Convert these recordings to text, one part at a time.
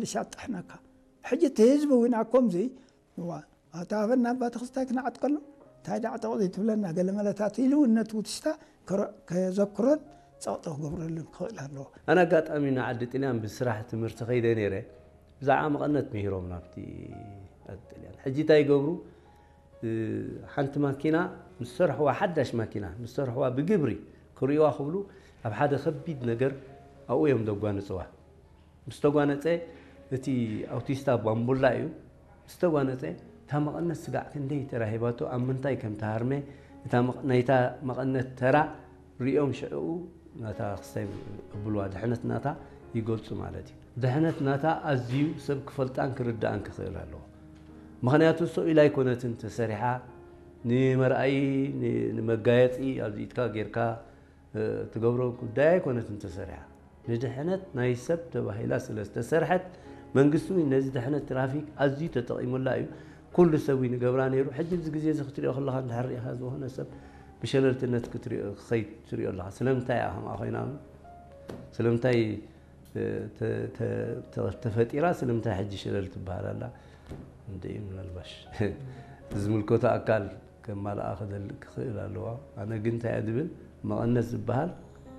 ልሻጥሕነካ። ሕጂ እቲ ህዝቢ እውን ኣብ ከምዚ፣ እዋ፣ ኣታ ሃበና ኣባ ተኽስታይ ክንዓጥቀሉ፣ እንታይ ደኣ ጠቕ ዘይትብለና፣ ገለ መለታት ኢሉ እውን ነቲ ውትሽታ ከረ-፣ ከዘክሮን ጸቕጢ ክገብረሉን ክኽእል ኣለዎ። ኣነ ኣጋጣሚ ንዓዲ ጥልያን ብስራሕ ትምህርቲ ከይደ ነይረ። ብዛዕባ መቐነት ምሂሮም ናብቲ ዓዲ ጥልያን። ሕጂ እንታይ ይገብሩ? እ፣ ሓንቲ ማኪና ምስ ሰርሕዋ፣ ሓዳሽ ማኪና ምስ ሰርሕዋ ብግብሪ ክርእይዋ ክብሉ ኣብ ሓደ ከቢድ ነገር ኣብኡ እዮም ዘጓንጽዋ። ምስ ተጓነጸ፣ እቲ ኣውቲስታ ባምቡላ እዩ። ምስ ተጓነጸ፣ እታ መቐነት ስጋዕ ክንደይ ተራ ሂባቶ፣ ኣብ ምንታይ ከም ተሃርመ፣ እታ መቐ-፣ ናይታ መቐነት ተራ ርእዮም ሽዕኡ ናታ ክስታይ የብልዋ፣ ድሕነት ናታ ይገልጹ ማለት እዩ። ድሕነት ናታ ኣዝዩ ሰብ ክፈልጣን ክርዳእን ክኽእል ኣለዎ። ምኽንያቱ እሶ ኢላ ኣይኮነትን ተሰሪሓ፣ ንመርኣዪ፣ ን-፣ ንመጋየጺ ኣብዚ ኢድካ ጌርካ፣ እ፣ ትገብሮ ጉዳይ ኣይኮነትን ተሰሪሓ። ንድሕነት ናይ ሰብ ተባሂላ ስለ ዝተሰርሐት፣ መንግስቲ እውን ነዚ ድሕነት ትራፊክ ኣዝዩ ተጠቒሙላ እዩ። ኩሉ ሰብ እዩ ንገብራ ነይሩ። ሕጂ እዚ ግዜ እዚ ክትሪኦ ከለኻ፣ እንድሕር ርኢኻ ዝኾነ ሰብ ብሸለልትነት ክትሪኦ፣ ክኸይድ ትሪኦ ኣለኻ። ስለምንታይ እያ ከምኣ ኮይና? ስለምንታይ፣ እ፣ ተ-፣ ተ-፣ ተ-፣ ተፈጢራ? ስለምንታይ ሕጂ ሸለል ትበሃል ኣላ? እንደ ምናልባሽ ዝምልከቶ ኣካል ከማልኣ ክደል-፣ ክኽእል ኣለዋ። ኣነ ግን እንታይ እየ ዝብል፣ መቐነት ዝበሃል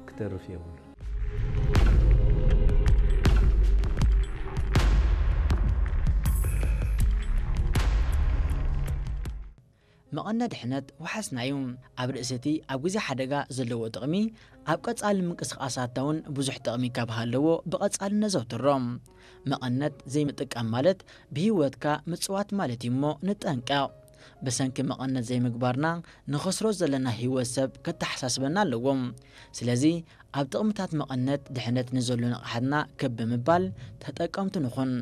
ክተርፍ የብሉ። መቐነ ድሕነት ወሓስና እዩ። ኣብ ርእሲ እቲ ኣብ ግዜ ሓደጋ ዘለዎ ጥቕሚ፣ ኣብ ቀጻሊ ምንቅስቓሳትና እውን ብዙሕ ጥቕሚ ካብ ሃለዎ፣ ብቐጻሊ ነዘውትሮ። መቐነት ዘይምጥቃም ማለት ብህይወትካ ምጽዋት ማለት እዩ እሞ ንጠንቀቕ። ብሰንኪ መቐነት ዘይምግባርና ንኸስሮ ዘለና ህይወት ሰብ ከተሓሳስበና ኣለዎ። ስለዚ ኣብ ጥቕምታት መቐነት ድሕነት ንዘሎ ንቕሓትና ክብ ብምባል ተጠቀምቲ ንኹን።